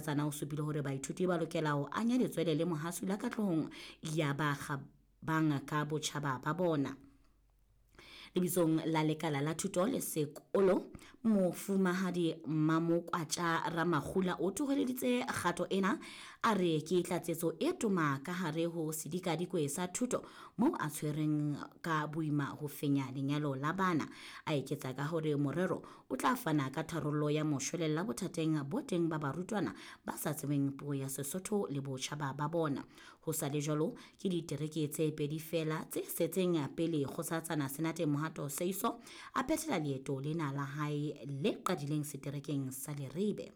Kgosatsana o supile hore baithuti ba lokela ho anya letswele le mohasula katlehong ya ba kgabang ka botjhaba ba bona. Lebitsong la lekala la thuto le sekolo, Mofumahadi Mamokwatja Ramakgula o thoholeditse kgato ena, a re ke tlatsetso e toma ka hare ho sedikadikwe sa thuto moo a tshwereng ka boima ho fenya lenyalo la bana. A eketsa ka hore morero o tla fana ka tharollo ya moshwelella bothateng bo teng ba barutwana ba sa tsebeng puo ya Sesotho le botjhaba ba bona. Ho sa le jwalo, ke ditereke tse pedi feela tse setseng pele Kgosatsana Senate Mohato Seiso a phethela leeto lena la hae le qadileng seterekeng sa Leribe.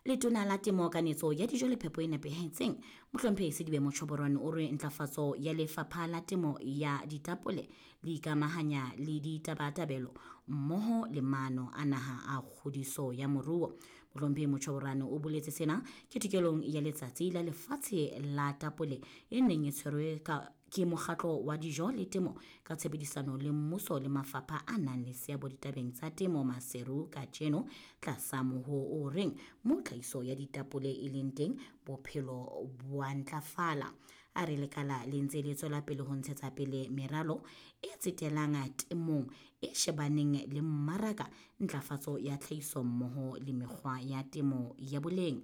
Letona la Temo, Kanetso ya Dijo le Phepo e Nepahetseng, Mohlomphehi Sedibe Motjhoborwane o re ntlafatso ya lefapha la temo ya ditapole le ikamahanya le ditabatabelo mmoho le maano a naha a kgodiso ya moruo. Mohlomphehi Motjhoborwane o boletse sena ketekelong ya letsatsi la lefatshe la tapole e neng e tshwerwe ka ke mokgatlo wa dijo le temo ka tshebedisano le mmuso le mafapha a nang le seabo ditabeng tsa temo Maseru kajeno tlasa moho o reng mo tlhahiso ya ditapole e leng teng bophelo bo a ntlafala. A re lekala le ntse le tswela pele ho ntshetsa pele meralo e tsetelang temong e shebaneng le mmaraka, ntlafatso ya tlhahiso mmoho le mekgwa ya temo ya boleng.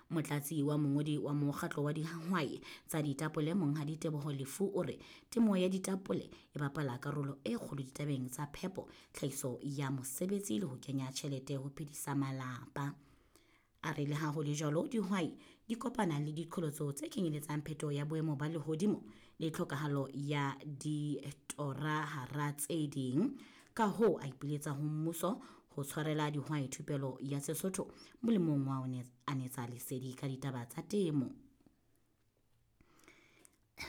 Motlatsi wa mongodi wa mokgatlo wa dihwai tsa ditapole Monghadi Teboho Lefu o re temo ya ditapole e bapala karolo e kgolo ditabeng tsa phepo, tlhahiso ya mosebetsi le ho kenya tjhelete ho phedisa malapa. A re le ha ho le jwalo, dihwai di kopana le diqholotso tse kenyeletsang phetoho ya boemo ba lehodimo le tlhokahalo ya ditora hara tse ding. Ka hoo a ipiletsa ho mmuso ho tshwarela dihwai thupelo ya Sesotho molemong wa ho anetsa lesedi ka ditaba tsa temo.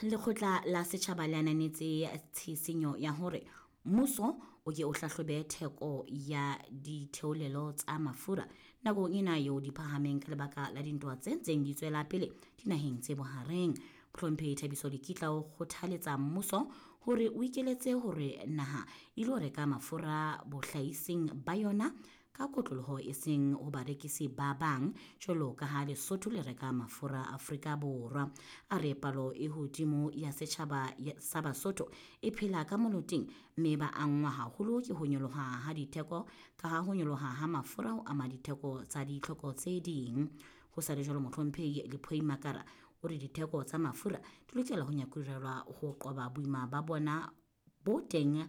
Lekgotla la setjhaba le ananetse tshisinyo ya hore mmuso o ke o hlahlobe theko ya ditheolelo tsa mafura nakong ena eo di phahameng ka lebaka la dintwa tse ntseng di tswela pele dinaheng tse bohareng. Mohlomphehi Thabiso Lekitla o kgothaletsa mmuso hore o ikeletse hore naha e ilo reka mafura bohlahising ba yona ka kotloloho e seng ho barekisi ba bang jwalo ka ha Lesotho le reka mafura Afrika Borwa. A re palo e hodimo ya setjhaba sa Basotho e phela ka moloting mme ba angwa haholo ke ho nyoloha ha ditheko ka ha ho nyoloha ha mafura ho ama ditheko tsa ditlhoko tse ding. Ho sa le jwalo, Mohlomphehi Lephoi Makara o re ditheko tsa mafura di lokela ho nyakurelwa ho qoba boima ba bona bo teng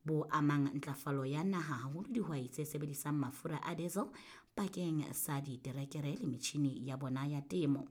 bo amang ntlafalo ya naha haholo dihwai tse sebedisang mafura a diesel bakeng sa diterekere le metjhini ya bona ya temo.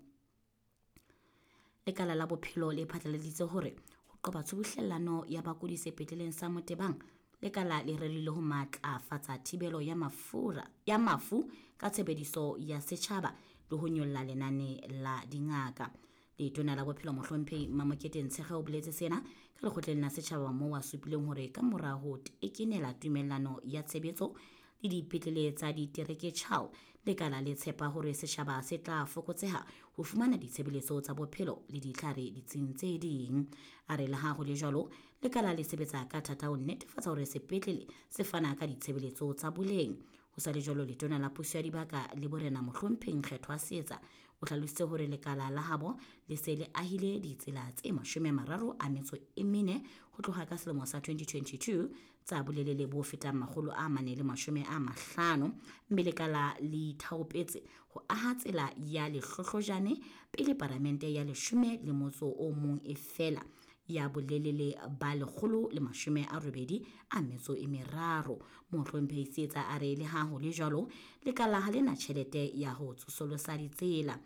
Lekala la bophelo le phatlaladitse hore ho qoba tshubuhlellano ya bakudi sepetleleng sa Motebang, lekala le rerile ho matlafatsa thibelo ya mafura ya mafu ka tshebediso ya setjhaba le ho nyolla lenane la dingaka. Letona la bophelo Mohlomphehi Mamokete Ntshege o boletse sena ka lekgotleng la setjhaba moo a supileng hore ka mora ho tekenela tumellano ya tshebetso le dipetlele tsa ditereke Chao, lekala le tshepa hore setjhaba se tla fokotseha ho fumana ditshebeletso tsa bophelo le ditlhare ditsing tse ding. A re le ha ho le jwalo, lekala le sebetsa ka thata ho netefatsa hore sepetlele se fana ka ditshebeletso tsa boleng. Ho sa le jwalo, letona la puso ya dibaka le borena Mohlomphehi Nkgethwa Seetsa o hlalositse hore lekala la habo le se le ahile ditsela tse 34 ho tloha ka selemo sa 2022 tsa bolelele bo fetang 450, mme lekala le ithaopetse ho aha tsela ya Lehlohlojane pele paramente ya 11 e fela ya bolelele ba 183. Mohlomphehi Seetsa a re le ha ho le jwalo, lekala ha le na tjhelete ya ho tsosolosa ditsela.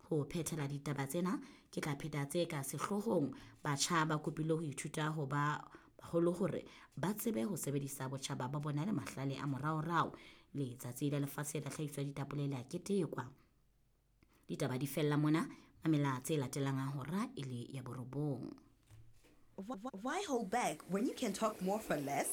Ho phethela ditaba tsena, ke tla pheta tse ka sehloohong. Batjha ba kopile ho ithuta ho ba baholo hore ba tsebe ho sebedisa botjhaba ba bona le mahlale a moraorao. Letsatsi la lefatshe la tlhahiso ya ditapole le a ketekwa. Ditaba di fella mona, mamela tse latelang a hora e le ya 9. Why hold back when you can talk more for less?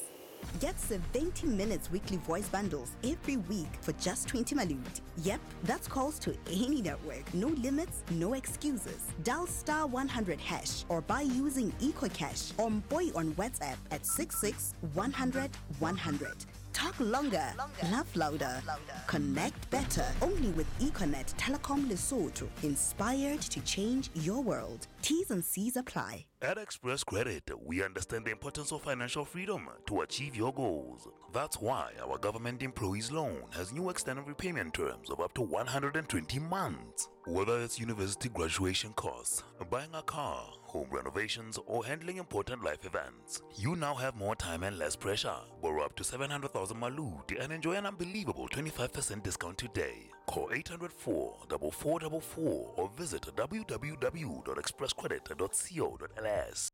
Get 70 minutes weekly voice bundles every week for just 20 malut. Yep, that's calls to any network. No limits, no excuses. Dial star 100 hash or buy using EcoCash or Boy on WhatsApp at 66 100 100. Talk longer, laugh louder, connect better. Only with Econet Telecom Lesotho. Inspired to change your world. T's and C's apply. At Express Credit, we understand the importance of financial freedom to achieve your goals. That's why our government employees loan has new extended repayment terms of up to 120 months. Whether it's university graduation costs, buying a car, home renovations, or handling important life events, you now have more time and less pressure. Borrow up to 700,000 Malut and enjoy an unbelievable 25% discount today. Call 804 4444 or visit www.expresscredit.co.ls.